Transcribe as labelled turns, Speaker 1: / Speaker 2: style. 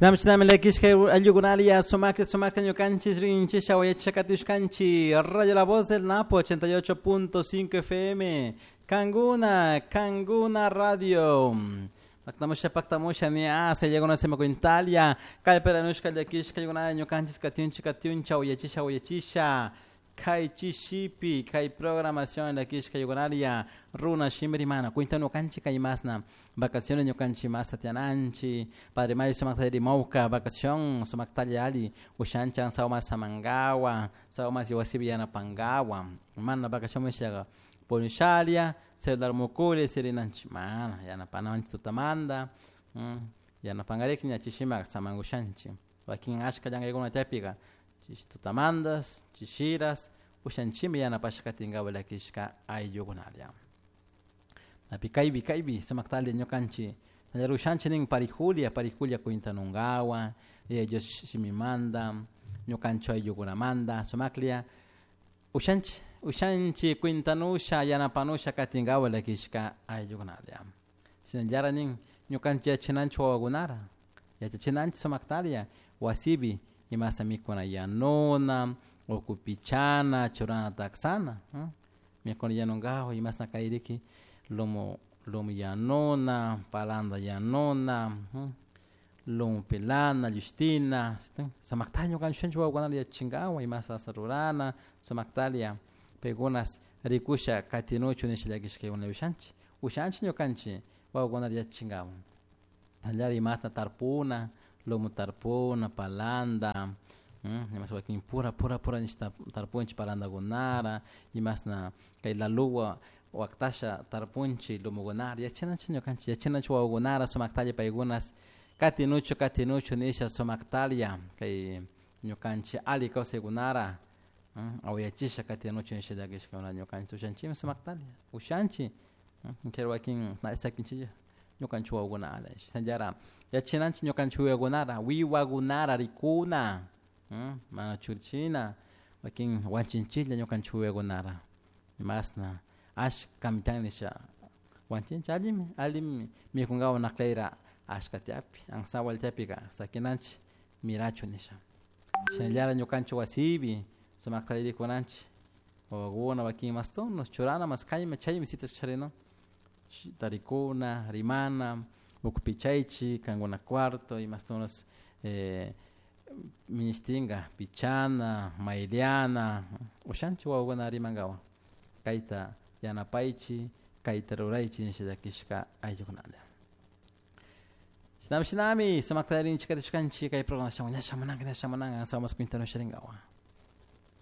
Speaker 1: Shinami shinami llakishka ayllukunaria sumakta sumakta ñukanchis rinchisha wayachakatishkanchi Radio La Voz del Napo 88.5 FM Kanguna Kanguna Radio. Paktamusha paktamusha ni asa llegó se me Italia kallparanushka llakishka ayllukunalla ñukanchis katiunchi katiuncha uyachisha uyachisha kay chishipi kay programación llakishka ayllukunaria runa shimi rimana cuenta ñukanchik kay masna vacaciones ñukanchik masa tiyananchik padre Mario sumakta rimawka vacación sumaktalla alli ushanchan sawa samangawa sawa wasipi yanapangawa mana vacación mishaga puñushalia celular mukuri sirinanchik mana yanapanawanchik tutamanta yanapankariki ña chishimaka samankushanchik wakin ashka llankaykunata tiyapika chishi tutamantas chishiras ushanchikmi yanapashka katinkapak llakishka ayllukunalla napi kaypi kaypi sumaktalla ñukanchik ushanchik nin parijulia parijulia cuentanunkawa Yaya Dios shimimanta ñukanchik ayllukunamanta sumaklla ushanchik ushanchik cuentanusha yanapanusha katinkapak llakishka ayllukunalla shinallara nin ñukanchik yachananchik wawakunara yachachinanchik sumaktalla wasipi imasa mikuna yanuna uku pichana churana taksana mikuna yanunkapak imasna kayriki lomo lomo yanuna palanta yanuna lomo pelana llushtina sumaktalla ñukanchik wawakunata yachachinkawan imasa rurana sumaktalla paykunas rikusha katinuchu nisha llakishkakuna ushanchik ushanchik ñukanchik wawakunata yachachinkawan allari imasta tarpuna lomo tarpuna palanta imas wakin pura pura pura nishta tarpunchik palantakunara imasna kay laluwa waktasha tarpunchik lomokunara yachananchik ñukanchik yachananchik wawakunara sumaktalla paykunas katinuchu katinuchu nisha sumaktalla kay ñukanchik alli kawsaykunara awayachisha katinuchu nisha llakishkuna ñukanchik ushanchikmi sumaktalla ushanchik pero wakin na sakinchik ñukanchik wawakunala shinallara yachananchik ñukanchik wiwakunara wiwakunara rikuna mana churchina wakin wanchinchiklla ñukanchik wiwakunara imasna ashkami tiyan nisha wanchinchik allimi allimi mikunkapak naklayra ashka tiyapi ansawal tiyapika sakinanchik mirachu nisha shinallara ñukanchik wasipi sumakta rikunanchik wawakuna wakin mastonos churana mas kayman chaymi sitashka charino tarikuna rimana ukupi chaychik kankuna cuarto imastonos minishtinka pichana mayllana ushanchik wawakuna rimankawan kayta yanapaychik kayta ruraychik nisha llakishka ayllukunalla shinami shinami sumakta rinchik katishkanchik kay programa shamunanka ña shamunanka samas cuentanusharinkawan.